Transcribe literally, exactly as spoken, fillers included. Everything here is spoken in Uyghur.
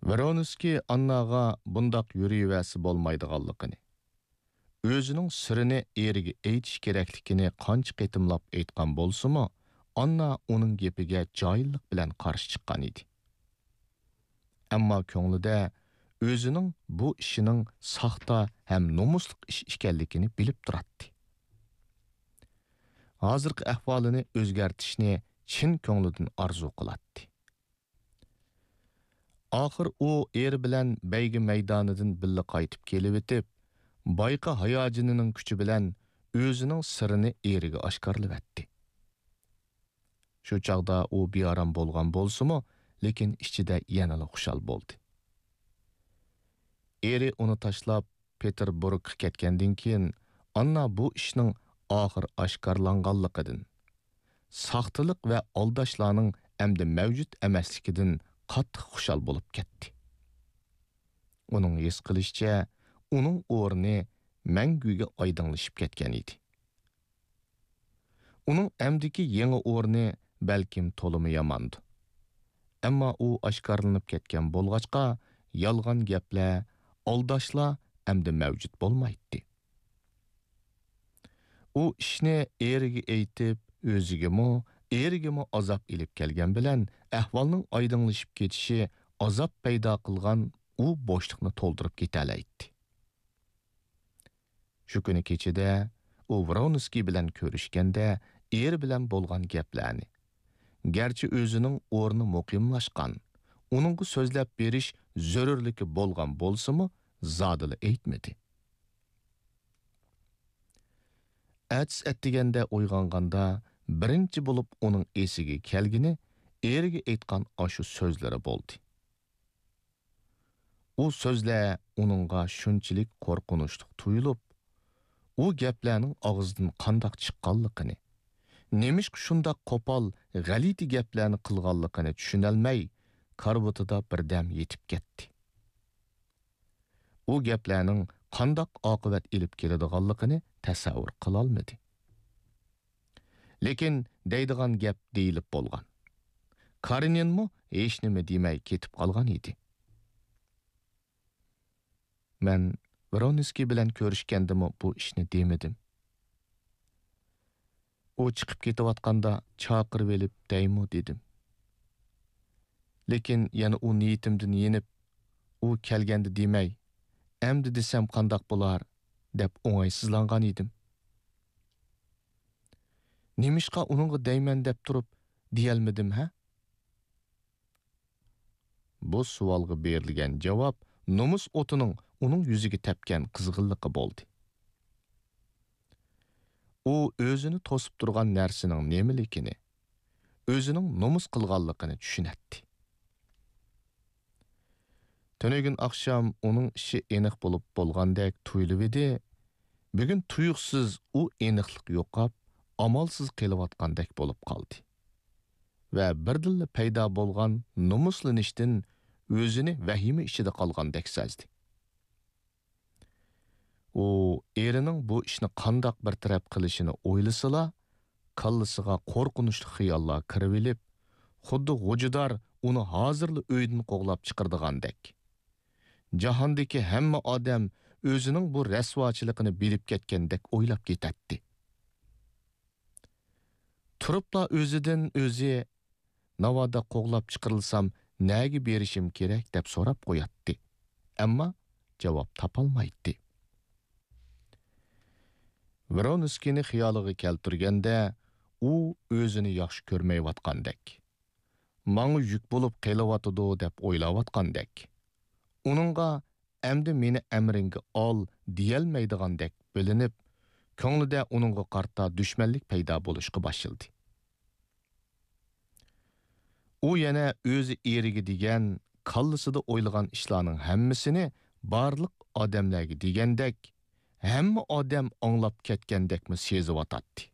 ۋرونسكىي ئانناغا بۇنداق يۈرۈۋەرسە بولمايدىغانلىقىنى، ئۆزىنىڭ سىرىنى ئېرىگە ئېيتىش كېرەكلىكىنى قانچە قېتىملاپ ئېيتقان بولسىمۇ، ئاننا ئۇنىڭ گېپىگە جاھىللىق بىلەن قارشى چىققان ئىدى. ئەمما كۆڭلىدە ئۆزىنىڭ بۇ ئىشىنىڭ ساختا ھەم نومۇسلۇق ئىش ئىكەنلىكىنى بىلىپ تۇراتتى. ھازىرقى ئەھۋالىنى ئۆزگەرتىشنى چىن كۆڭلىدىن ئارزۇ قىلاتتى. ئاخىر ئۇ ئېرى بىلەن بەيگە مەيدانىدىن بىللە قايتىپ كېلىۋېتىپ، بايىقى ھاياجىنىنىڭ كۈچى بىلەن ئۆزىنىڭ سىرىنى ئېرىگە ئاشكارىلىۋەتتى. شۇ چاغدا ئۇ بىئارام بولغان بولسىمۇ، لېكىن ئىچىدە يەنىلا خۇشال بولدى. ئېرى ئۇنى تاشلاپ، پېتېربۇرگقا كەتكەندىن كېيىن، ئاننا بۇ ئىشنىڭ ئاخىر ئاشكارىلانغانلىقىدىن، ساختىلىق ۋە ئالداشلارنىڭ ئەمدى مەۋجۇت ئەمەسلىكىدىن قاتتىق خۇشال بولۇپ كەتتى. ئۇنىڭ ھېس قىلىشىچە، ئۇنىڭ ئورنى مەڭگۈگە ئايدىڭلىشىپ كەتكەن ئىدى. ئۇنىڭ ئەمدىكى يېڭى ئورنى بەلكىم تولىمۇ ياماندۇ. ئەمما ئۇ ئاشكارىلىنىپ كەتكەن بولغاچقا، يالغان گەپلەر، ئالداشلار ئەمدى مەۋجۇت بولمايتتى. ئۇ ئىشنى ئېرىگە ئېيتىپ، ئۆزىگىمۇ، ئېرىگىمۇ ئازاب ئېلىپ كەلگەن بىلەن، ئەھۋالنىڭ ئايدىڭلىشىپ كېتىشى ئازاب پەيدا قىلغان ئۇ بوشلۇقنى تولدۇرۇپ كېتەلەيتتى. شۇ كۈنى كېچىدە ئۇ ۋرونسكىي بىلەن كۆرۈشكەندە، ئېرى بىلەن بولغان گەپلەرنى، گەرچە ئۆزىنىڭ ئورنى مۇقىملاشقان، ئۇنىڭغا سۆزلەپ بېرىش زۆرۈرلۈكى بولغان بولسىمۇ، زادىلا ئېيتمىدى. ئەتىسى ئەتىگەندە ئويغانغاندا، بىرىنچى بولۇپ ئۇنىڭ ئېسىگە كەلگىنى ئېرىگە ئېيتقان ئاشۇ سۆزلىرى بولدى. ئۇ سۆزلەر ئۇنىڭغا شۇنچىلىك قورقۇنچلۇق تۇيۇلۇپ، ئۇ گەپلەرنىڭ ئاغزىدىن قانداق چىققانلىقىنى، نېمىشقا شۇنداق قوپال، غەلىتە گەپلەرنى قىلغانلىقىنى چۈشىنەلمەي، كارىۋىتىدا بىردەم يېتىپ كەتتى. ئۇ گەپلەرنىڭ قانداق ئاقىۋەت ئېلىپ كېلىدىغانلىقىنى تەسەۋۋۇر قىلالمىدى. لېكىن دەيدىغان گەپ دېيىلىپ بولغان. كارېنىنمۇ ھېچنېمە دېمەي كېتىپ قالغان ئىدى. مەن ۋرونسكىي بىلەن كۆرۈشكەندىمۇ بۇ ئىشنى دېمىدىم. ئۇ چىقىپ كېتىۋاتقاندا چاقىرىۋېلىپ دەيمۇ دېدىم. لېكىن يەنە ئۇ نىيىتىمدىن يېنىپ، ئۇ كەلگەندە دېمەي، ئەمدى دېسەم قانداق بولار، دەپ ئوڭايسىزلانغان ئىدىم. نېمىشقا ئۇنىڭغا دەيمەن دەپ تۇرۇپ دېيەلمىدىم، ھە؟ بۇ سوئالغا بېرىلگەن جاۋاب نومۇس ئوتىنىڭ ئۇنىڭ يۈزىگە تەپكەن قىزغىنلىقى بولدى. ئۇ ئۆزىنى توسۇپ تۇرغان نەرسىنىڭ نېمىلىكىنى، ئۆزىنىڭ نومۇس قىلغانلىقىنى چۈشىنەتتى. تۈنۈگۈن ئاخشام ئۇنىڭ ئىشى ئېنىق بولۇپ بولغاندەك تۇيۇلۇۋىدى، بۈگۈن تۇيۇقسىز ئۇ ئېنىقلىق يوقاپ، ئامالسىز قېلىۋاتقاندەك بولۇپ قالدى ۋە بىردىنلا پەيدا بولغان نومۇسلىنىشتىن ئۆزىنى ۋەھىمە ئىچىدە قالغاندەك سەزدى. ئۇ ئېرىنىڭ بۇ ئىشنى قانداق بىر تەرەپ قىلىشىنى ئويلىسىلا، كاللىسىغا قورقۇنچلۇق خىياللار كىرىۋېلىپ، خۇددى غوجىدار ئۇنى ھازىرلا ئۆيدىن قوغلاپ چىقىرىدىغاندەك، جاھاندىكى ھەممە ئادەم ئۆزىنىڭ بۇ رەسۋاچىلىقىنى بىلىپ كەتكەندەك ئويلاپ كېتەتتى. تۇرۇپلا ئۆزىدىن ئۆزى، «ناۋادا قوغلاپ چىقىرىلسام، نەگە بېرىشىم كېرەك؟» دەپ سوراپ قوياتتى. ئەمما جاۋاب تاپالمايتتى. ۋرونسكىينى خىيالىغا كەلتۈرگەندە، ئۇ ئۆزىنى ياخشى كۆرمەيۋاتقاندەك، ماڭا يۈك بولۇپ قېلىۋاتىدۇ دەپ ئويلاۋاتقاندەك، ئۇنىڭغا «ئەمدى مېنى ئەمرىڭگە ئال» دېيەلمەيدىغاندەك بىلىنىپ، كۆڭلىدە ئۇنىڭغا قارىتا دۈشمەنلىك پەيدا بولۇشقا باشلىدى. ئۇ يەنە ئۆزى ئېرىگە دېگەن، كاللىسىدا ئويلىغان ئىشلارنىڭ ھەممىسىنى بارلىق ئادەملەرگە دېگەندەك، ھەممە ئادەم ئاڭلاپ كەتكەندەكمۇ سېزىۋاتاتتى.